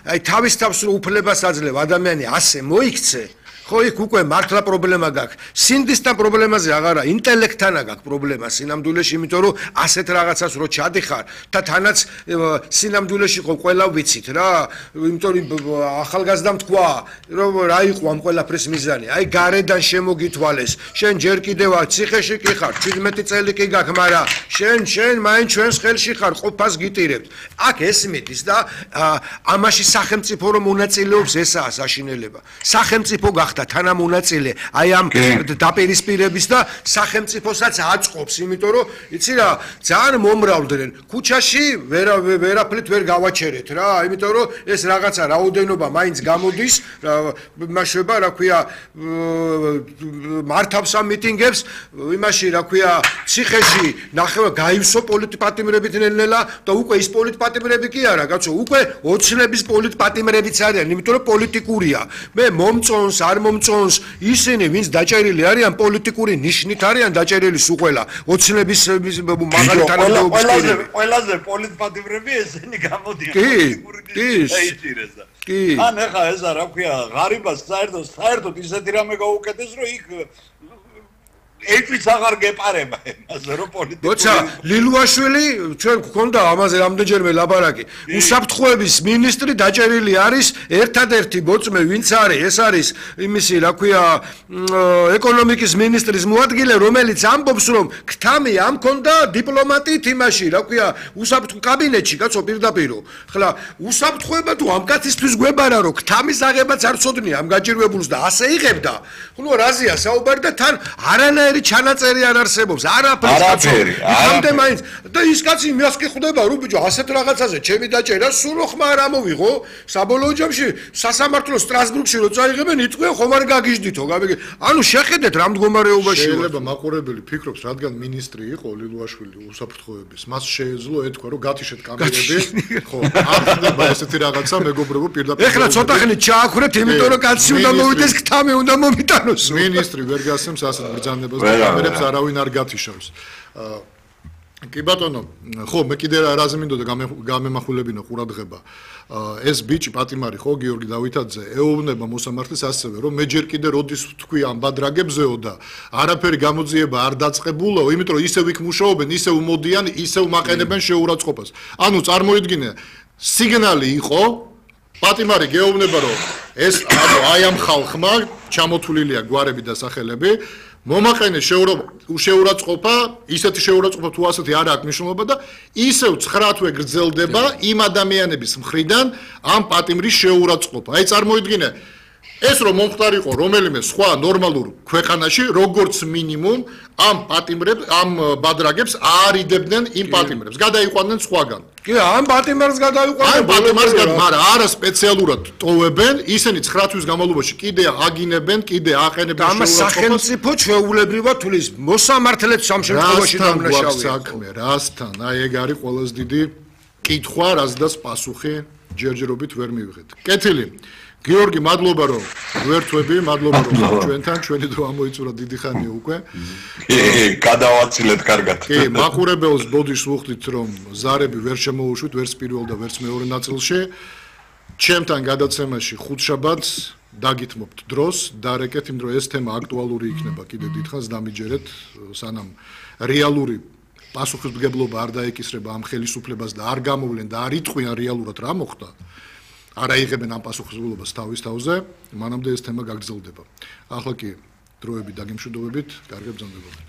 აი თავის თავს რო უფლებას აძლევ ადამიანი ასე მოიქცე ხო იქ უკვე მართლა პრობლემა გაქვს. სინდისთან პრობლემაზე აღარა, ინტელექტთანა გაქვს პრობლემა სინამდვილეში, იმიტომ რომ ასეთ რაღაცას რო ჩადიხარ და თანაც სინამდვილეში ხო ყველა ვიცით რა, იმიტომ რომ ახალგაზრდამ თქვა, რომ რა იყო ამ ყველაფრის მიზანი. აი გარედან შემოგითვალეს. შენ ჯერ კიდევ ციხეში კი ხარ, 17 წელი კი გაქვს, მაგრამ შენ მაინც ჩვენს ხელში ხარ, ყოფას გიტირებთ. აქ ეს მიდის და ამაში სახელმწიფო რომ მონაწილეობს ესაა საშინელება. სახელმწიფო გახდა თანამონაწილე აი ამ დაპირისპირების და სახელმწიფოსაც აწყობს, იმიტომ რომ იცი რა, ძალიან მომრავლდნენ. ქუჩაში ვერაფრით ვერ გავაჩერეთ რა, იმიტომ რომ ეს რაღაცა რაოდენობა მაინც გამოდის, იმაშება, რა ქვია, მართავს ამ მიტინგებს, იმაში, რა ქვია, ციხეში ნახევა გაივსო პოლიტპატიმრებით ნელ-ნელა და უკვე ის პოლიტპატიმრები კი არა, კაცო, უკვე ოცნების პოლიტპატიმრებიც არიან, იმიტომ რომ პოლიტიკურია. მე მომწონს, არ მომწონს ისინი, ვინც დაჭერილი არიან პოლიტიკური ნიშნით არიან დაჭერილი სუყველა, ოცნების მაღალი თანამდებობის პირები. ყველაზე პოლიტპატიმრები ესენი გამოდიან პოლიტიკური კი. ან ეხა ეს რა ქვია, ღარიბას საერთოდ ისეთი რამე გაუკეთეს, რომ იქ ეჭვიც აღარ გეპარება იმაზე, რომ პოლიტიკური. როცა ლილუაშვილი ჩვენ გქონდა ამაზე რამდენჯერმე ლაპარაკი. უსაფრთხოების მინისტრი დაჭერილი არის ერთადერთი ბოწმე, ვინც არის, ეს არის იმისი, რა ქვია, ეკონომიკის მინისტრის მოადგილე, რომელიც ამბობს, რომ ქთამი ამ ქონდა დიპლომატით იმაში, რა ქვია, უსაფრთხო კაბინეტში, კაცო, პირდაპირ. ხლა უსაფრთხოება თუ ამ კაცისთვის გვებარა, რომ ქთამის აღებაც არ ცოდნია ამ გაჭირვებულს და ასე იღებდა. ხო, რაზეა საუბარი და თან არანაირი ჩანაწერი არ არსებობს, არაფერი. ამდე მაინც და ის კაცი იმას კი ხვდება, რომ ბიჭო, ასეთ რაღაცაზე ჩემი დაჭერა სულ ხმა არ ამოვიღო. საბოლოო ჯამში სასამართლო სტრასბურგში რო წაიღებენ, იტყვიან ხომ არ გაგიჟდითო, ანუ შეხედეთ რა მდგომარეობაში. შეიძლება მაყურებელი ფიქრობს, რადგან მინისტრი იყო ლილუაშვილი უსაფრთხოების, მას შეეძლო ეთქვა, რომ გათიშეთ კამერები, ხო, არ ხდება ესეთი რაღაცა, მეგობრებო, პირდაპირ. ეხლა ცოტა ხნით ჩააქვრეთ, იმიტომ რომ კაცი უნდა მოვიდეს, ქთამი უნდა მომიტანოს. მინისტრი ვერ გასცემს ასეთ ბრძანებას. კამერებს არავინ არ გათიშავს. კი ბატონო, ხო, მე კიდე რაზე მინდოდა გამემახვილებინა ყურადღება. ეს ბიჭი პატიმარი ხო, გიორგი დავითაძე, ეუბნება მოსამართლეს ასევე, რომ მე ჯერ კიდე როდის ვთქვი ამ ბადრაგებზეო და არაფერი გამოძიება არ დაწყებულო, იმიტომ რომ ისევ იქ მუშაობენ, ისევ მოდიან, ისევ მაყენებენ შეურაცხყოფას. ანუ წარმოიდგინე, სიგნალი იყო, პატიმარი გეუბნება, რომ ეს აი ამ ხალხმა ჩამოთვლილია გვარები და სახელები, მომაყენე შეურაცხყოფა, ისეთი შეურაცხყოფა თუ ასეთი არ აქვს მნიშვნელობა და ისევ 9 თვე გრძელდება იმ ადამიანების მხრიდან ამ პატიმრის შეურაცხყოფა. აი წარმოიდგინე, ეს რომ მომხდარიყო რომელიმე სხვა ნორმალურ ქვეყანაში, როგორც მინიმუმ ამ პატიმრებს, ამ ბადრაგებს არიდებდნენ იმ პატიმრებს, გადაიყვანდნენ სხვაგან. კი, ამ პატიმარს გადაიყვანდნენ, მაგრამ არა სპეციალურად ტოვებენ, ისინი 9 თვის განმავლობაში კიდე აგინებენ, კიდე აყენებენ შეურაცხყოფას. სახელმწიფო ჩვეულებრივად თulis მოსამართლეც ამ შემთხვევაში დამნაშავეა. საქმე, რასთან? აი ეგ არის ყველაზე დიდი კითხვა, რაზედაც პასუხი ჯერჯერობით ვერ მივიღეთ. კეთილი. გიორგი, მადლობა რომ გვერდთვები, მადლობა რომ ჩვენთან, ჩვენი დრო ამოიწურა დიდი ხანია უკვე. გადავაცილეთ კარგად. კი, მაყურებელს ბოდიშს ვუხდით რომ ზარები ვერ შემოუშვით, ვერც პირველ და ვერც მეორე ნაწილში. ჩემთან გადაცემაში ხუთშაბათს დაგითმობთ დროს, დარეკეთ, იმ რომ ეს თემა აქტუალური იქნება კიდე დიდხანს დამიჯერეთ, სანამ რეალური პასუხისმგებლობა არ დაეკისრება ამ ხელისუფლებას და არ გამოვლენ და არ იტყვიან რეალურად რა მოხდა. არ აიღებენ ამ პასუხისმგებლობას თავის თავზე, მანამდე ეს თემა გაგრძელდება. ახლა კი დროები დაგემშვიდობებით, კარგად ბრძანდებოდეთ.